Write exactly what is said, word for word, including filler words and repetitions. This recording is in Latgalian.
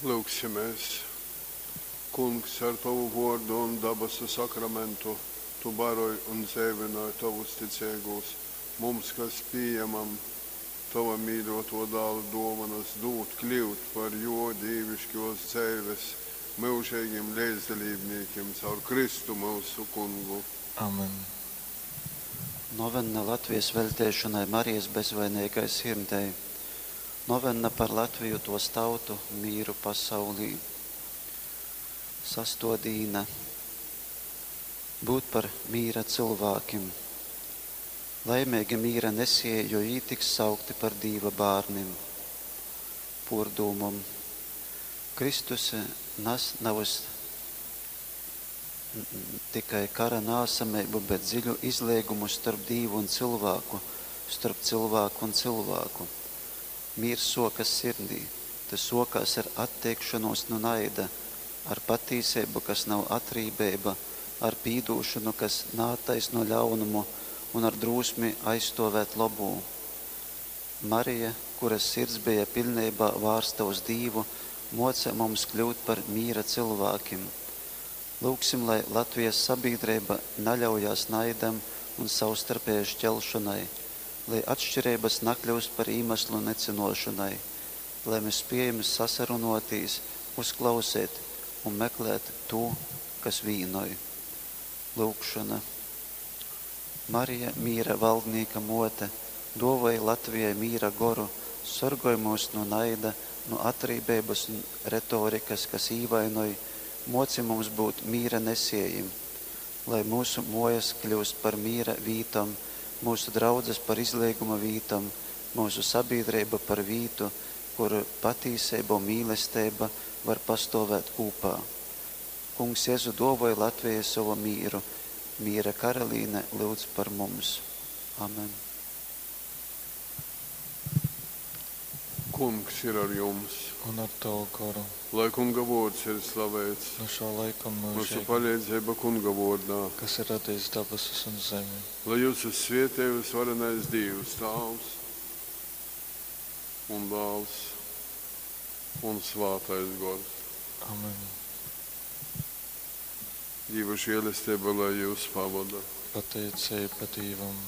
Lyugsimēs. Kungs, ar tovu vōrdu un dabasu sakramentu tu baroj un dzeivynoj tovus ticeigūs. Mums, kas pījamam tova mīļōtō Dāla dōvonas, dūd kļyut par jō dīviškōs dzeives myužeigim leidzdalībnīkim caur Kristu myusu Kungu. Amen. Novenna Latvijas veļteišonai Marijas bezvaineigai sirdei. Novenna par Latviju, tos tautu, mīru pasaulī. Sasto dīna. Būt par mīra cylvākim. Laimeigi mīra nesieji, jo jī tiks saukti par Dīva bārnim. Pōrdūmom. Kristus nas navys tikai kara naasameibu, bet dziļu izleigumu storp Dīvu un cylvāku, storp cylvāku un cylvāku. Mīrs suokas sirdī. Tys suokās ar atteikšonūs nu naida, ar patīseibu, kas nav atrībeiba, ar pīdūšonu, kas naattaisno ļaunumu, un ar drūsmi aizstuovēt lobū. Marija, kuras sirds beja piļneibā vārsta uz Dīvu, muoca mums kļūt par mīra cylvākim. Lyugsim, lai Latvijas sabīdreiba naļaujās naidam un savstarpējai šķelšonai, lai atšķireibys nakļiust par īmaslu nycynuošonai, lai mes spiejam sasarunuotīs, uzklauseit un meklēt tū, kas vīnoj. Lyugšona. Marija, mīra valdnīka muote, duovoj Latvijai mīra goru, sorgoj myus nu naida, nu atrībeibys un retorikas, kas īvainoj, muoci mums būt mīra nesiejim, lai myusu muojas kļiust par mīra vītom, myusu draudzes par izleiguma vītom, myusu sabīdreiba par vītu, kur patīseiba un mīlesteiba var pastuovēt kūpā. Kungs Jezu, duovoj Latvijai sovu mīru. Mīra karalīne, lyudz par mums. Amen. Kungs ir ar jums. Un ar tavu goru. Lai Kunga vōrds ir slaveits. No šā laika un Myusu mūžīgi, paleidzeiba Kunga vōrdā. kas ir radījis dabasus un zemi. Lai jyusus svietej vysvarenais Dīvs, Tāvs un Dāls un Svātais Gors. Amen. Dīva žēlesteiba lai jūs pavoda. Pateicība Dīvam.